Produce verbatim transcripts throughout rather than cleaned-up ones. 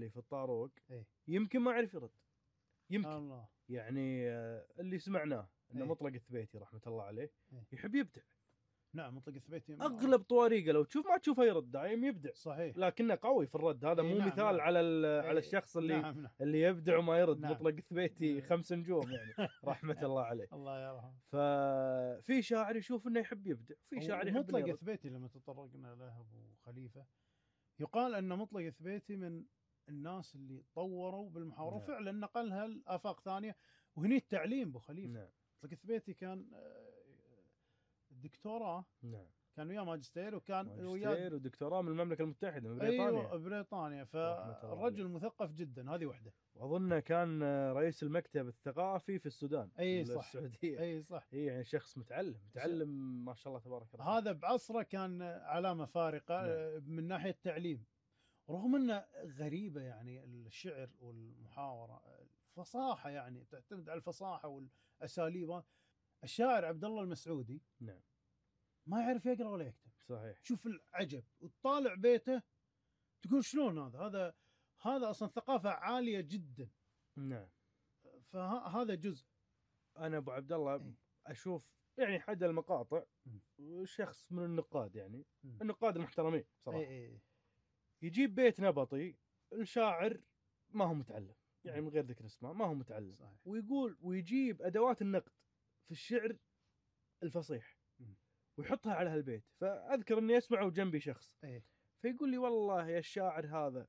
اللي في الطاروق إيه؟ يمكن ما يعرف يرد، يمكن الله. يعني اللي سمعناه ان إيه؟ مطلق الثبيتي رحمه الله عليه إيه؟ يحب يبدع. نعم مطلق الثبيتي اغلب طواريقه لو تشوف ما تشوفه يرد، دايم يبدع. صحيح. لكنه قوي في الرد، هذا إيه مو نعم مثال نعم. على إيه على الشخص اللي نعم نعم. اللي يبدع وما يرد. نعم. مطلق الثبيتي إيه. خمس نجوم يعني رحمه الله عليه. الله يرحمه. ففي شاعر يشوف انه يحب يبدع، في شاعر يحب مطلق يرد. الثبيتي لما تطرقنا له ابو خليفه، يقال ان مطلق الثبيتي من الناس اللي طوروا بالمحاوره. نعم. فعلا نقلها لافاق ثانيه، وهني التعليم ابو خليفه. نعم. مطلق الثبيتي كان دكتوراه. نعم. كان وياه ماجستير، وكان ماجستير ودكتوراه من المملكه المتحده من بريطانيا. ايوه بريطانيا. فالرجل مثقف جدا، هذه وحده. واظنه كان رئيس المكتب الثقافي في السودان. اي صح. السعوديه. اي صح. اي يعني شخص متعلم متعلم ما شاء الله تبارك الله. هذا بعصره كان علامه فارقه. نعم. من ناحيه التعليم، رغم انه غريبه يعني الشعر والمحاوره فصاحه، يعني تعتمد على الفصاحه والاساليب. الشاعر عبد الله المسعودي نعم ما يعرف يقرا ولا يكتب. صحيح. شوف العجب، وتطالع بيته تقول شلون هذا هذا هذا اصلا ثقافه عاليه جدا. نعم. فهذا جزء. انا ابو عبد الله اشوف يعني حد المقاطع شخص من النقاد، يعني م. النقاد المحترمين صراحه. اي اي. يجيب بيت نبطي، الشاعر ما هو متعلم، يعني من غير ذكر اسمه ما هو متعلم. صحيح. ويقول ويجيب ادوات النقد في الشعر الفصيح ويحطها على هالبيت. فاذكر اني اسمعه جنبي شخص ايه؟ فيقول لي والله يا الشاعر هذا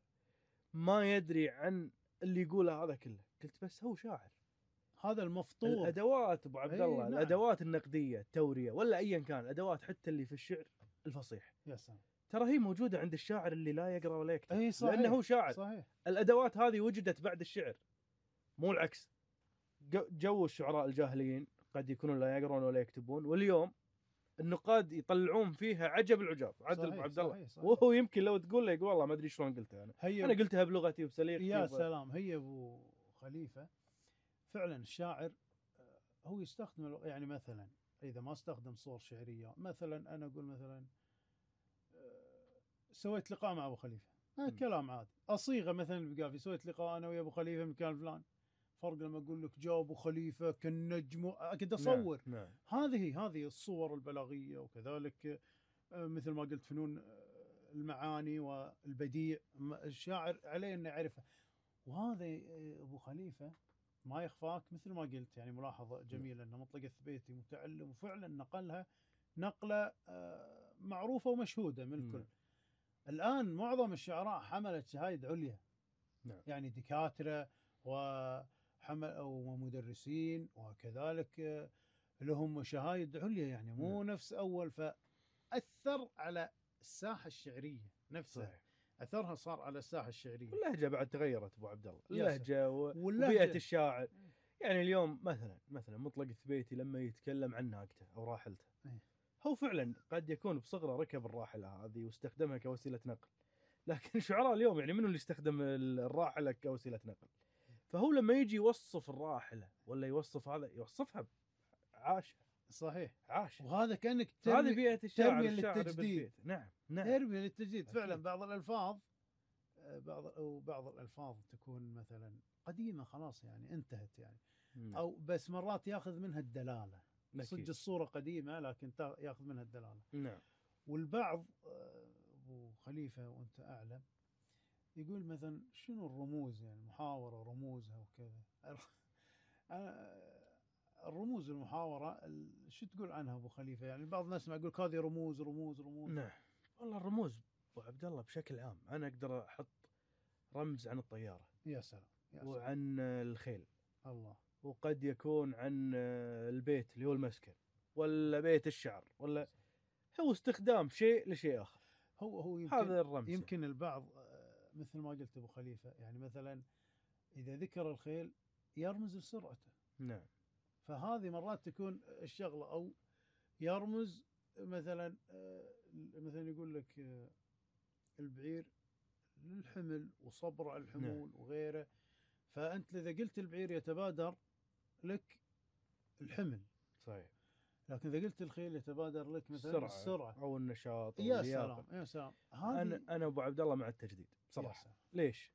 ما يدري عن اللي يقوله هذا كله. قلت بس هو شاعر، هذا المفطور. الادوات ابو عبد الله. ايه نعم. الادوات النقديه التوريه ولا ايا كان الادوات حتى اللي في الشعر الفصيح، يا سلام، ترى هي موجوده عند الشاعر اللي لا يقرا ولا يكتب. ايه صحيح. لانه هو شاعر. صحيح. الادوات هذه وجدت بعد الشعر، مو العكس. جو الشعراء الجاهليين قد يكونون لا يقرون ولا يكتبون، واليوم النقاد يطلعون فيها عجب العجاب. عدل ابو عبد الله، وهو يمكن لو تقول له يقول والله ما ادري شلون قلتها انا انا قلتها بلغتي وبسليقتي. يا سلام. هي ابو خليفه فعلا الشاعر هو يستخدم، يعني مثلا اذا ما استخدم صور شعريه، مثلا انا اقول مثلا سويت لقاء مع ابو خليفه، آه كلام عادي. اصيغه مثلا بقافي سويت لقاء انا ويا ابو خليفه مكان فلان. فرق لما اقول لك جاء ابو خليفه كالنجم، اكيد اصور. نعم. نعم. هذه هذه الصور البلاغيه، وكذلك مثل ما قلت فنون المعاني والبديع الشاعر عليه انه يعرفها. وهذا ابو خليفه ما يخفاك مثل ما قلت، يعني ملاحظه جميله انه مطلق الثبيتي متعلم، وفعلا نقلها نقله معروفه ومشهوده من الكل. الان معظم الشعراء حملت شهاده عليا. نعم. يعني دكاتره وحمل ومدرسين، وكذلك لهم شهايد عليا، يعني مو نعم. نفس اول. فاثر على الساحه الشعريه نفسها. صحيح. اثرها صار على الساحه الشعريه. واللهجه بعد تغيرت ابو عبد الله، اللهجه وبيئه الشاعر. يعني اليوم مثلا مثلا مطلق الثبيتي لما يتكلم عن ناقته او راحلته، هو فعلا قد يكون بصغره ركب الراحله هذه واستخدمها كوسيله نقل. لكن شعراء اليوم يعني منو اللي يستخدم الراحله كوسيله نقل؟ فهو لما يجي يوصف الراحله ولا يوصف هذا يوصفها عاشها. صحيح عاشها. وهذا كانك ترمي هذه بيئه الشاعر. ترمية للتجديد. نعم نعم. ترمية للتجديد فعلا. بعض الالفاظ بعض او بعض الالفاظ تكون مثلا قديمه خلاص، يعني انتهت يعني. نعم. او بس مرات ياخذ منها الدلاله. صدق الصوره قديمه لكن ياخذ منها الدلاله. نعم. والبعض ابو خليفه وانت اعلم يقول مثلا شنو الرموز، يعني محاوره رموزها وكذا. الرموز المحاوره شو تقول عنها ابو خليفه؟ يعني بعض الناس ما يقول هذه رموز رموز رموز. نعم. والله الرموز ابو عبد الله بشكل عام انا اقدر احط رمز عن الطياره. يا سلام. يا سلام. وعن الخيل. الله. وقد يكون عن البيت اللي هو المسكن، ولا بيت الشعر، ولا هو استخدام شيء لشيء آخر. هو هو يمكن هذا الرمز. يمكن البعض مثل ما قلت أبو خليفة، يعني مثلا إذا ذكر الخيل يرمز لسرعته. نعم. فهذه مرات تكون الشغلة، أو يرمز مثلا مثلا يقول لك البعير للحمل وصبر على الحمول. نعم. وغيره. فأنت إذا قلت البعير يتبادر لك الحمل. صحيح. لكن إذا قلت الخيل يتبادر لك مثلا السرعة, السرعة. أو النشاط. يا سلام يا سلام. أنا أنا أبو عبد الله مع التجديد بصراحة. ليش؟